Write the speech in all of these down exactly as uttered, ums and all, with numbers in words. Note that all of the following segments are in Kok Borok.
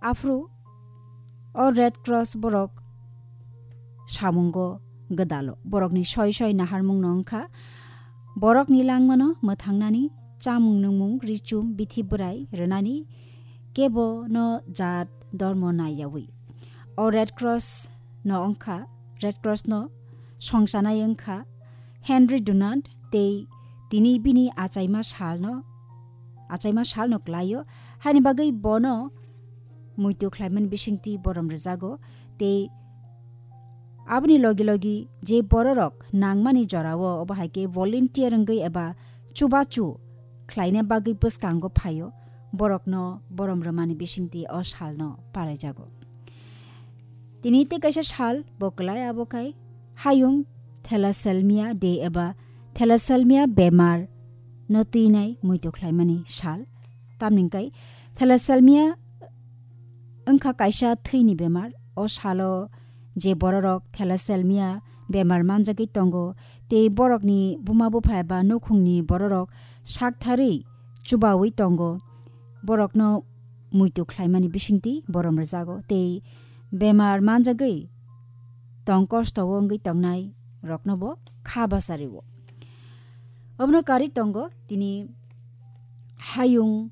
Aphuru o Red Cross borok samungo gwdalo. Borokni soi soi naharmungno wngkha, borokni langmano mwthangnani, chamung nungmung, richum, bithi bwrai rwnani kebo no jat dormo naiyawi. O Red Cross no wngkha, Red Cross no songchanai wngkha Henry Dunant tei tini bini achaima salno, achaima salno klaio, haini bagwi bono muitu khlaimani bisingtwi borom rwjago, tei aboni logi logi je bororok nangmani jorao obo hai khe volunteer wngwi eba chubachu khlaina bagwi bwskango phaio, borokno borom rwmani bisingtwi o salno palaijago. Tini tei kaisa sal bo kwlai, abo khai hayung thalassemia day eba thalassemia bemar no twinai muitu khlaimani sal. Tamni hwnkhe thalassemia wngkha kaisa thwini bemar. O salo je bororok thalassemia bemar manjagwi tongo, tei borokni buma bupha eba nukhungni bororok saktharwi chubawi tongo, borokno muitu khlaimani bisingtwi borom rwjago, tei bemar manjagwi tong kosto o wngwi tongnai rokno bo kha bachario. Obono karwi tongo tini hayung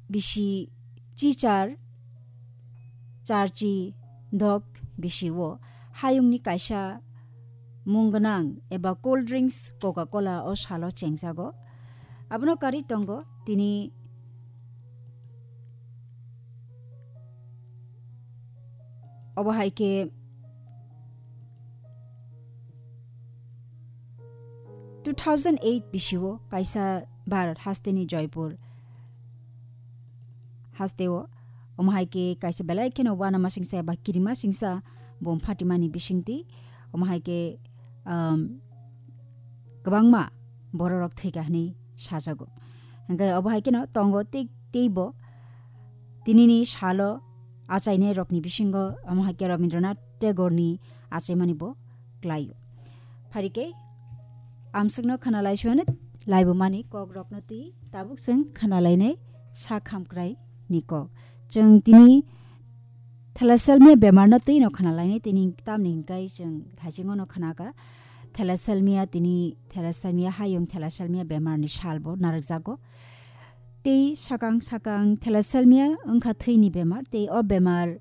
bisi chichar charchi dok bisi o hayungni kaisa mung gwnang eba cold drinks Coca-Cola o salo chengjago. Abono karwi tongo tini obo hai khe two thousand eight bisio kaisa Bharat hasteni Joypur hasteo omo hai khe kaisa belai kheno uanamasingsa eba kirimasingsa bom phatimani bisingtwi omo hai khe, um, kwbangma bororok thwikha hwnwi sajago. Hwnkhe obo hai kheno tongo tei, teibo tinini salo achainairokni bisingo omo hai khe Rabindranath Tagoreni achaimani bo klaio. Phari khe amswkno khwnalai suyanw laibumani kokrokno twi tabuk chwng khwnalainai sak hamkraini kok. Chwng tini thalassemia bemarno twino khwnalainai, tini tamni hwnkhe chwng thaisingono khwnakha. Thalassemia tini thalassemia hayung thalassemia bemarni salbo narwkjago. Tei sakang sakang thalassemia wngkha thwini bemar, tei o bemar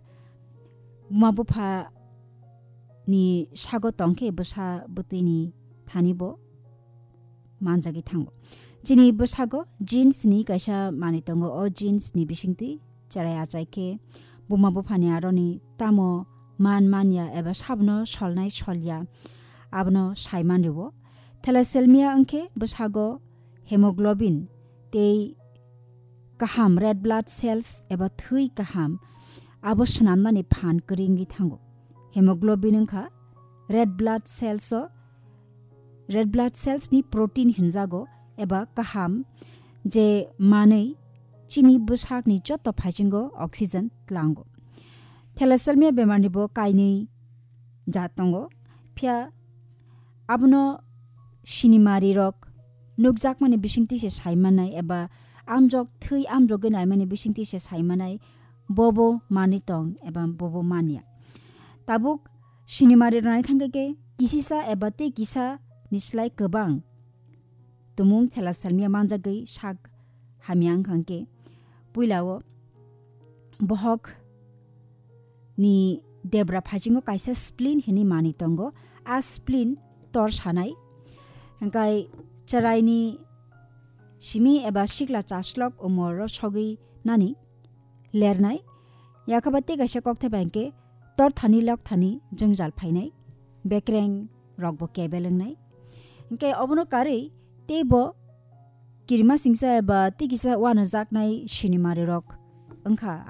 buma bupha ni sago tongkhe bwsa bwtwini thani bo manjagwi thango. Chini bwsago genes ni kaisa manwi tongo, o genes ni bisingtwi cherai achai khe buma buphani aroni tamo man manya eba sabno solnai solya abono saiman rwo. Thalassemia wngkhe bwsago hemoglobin tei kaham red blood cells eba thwi kaham abo swnamnani phan kwrwi wngwi thango. Hemoglobin wngkha red blood cells o, red blood cells ni protein hinjago eba kaham je manwi chini bwsakni joto phaisingo oxygen tlango. Thalassemia bemarni bo kainwi jat tongo, phiya abono sinimari rok nukjakmani bisingtwi se saimanai eba amjok thwi amjogwi naimani bisingtwi se saimanai bobo manwi tong eba bobo manya. Tabuk sinimari rok nai thangkhe khe kisisa eba tei kisa ni slai kwbang tumung thalassemia manjagwi sak hamya wngkha hwnkhe puilao bohok ni debra phaisingo kaisa spleen hinwi manwi tongo. A spleen tor sanai. Hwnkhe chwraini simi eba sikla chaslok umor o sogwi nani lernai. Yakhaba tei kaisa kokthai bai hwnkhe tor thani lok thani jwngjal phainai. Bekreng rokbo kebel wngnai. Hwnkhe obono karwi teibo kirimasingsa eba tei kisa uanajaknai sinimari rok wngkha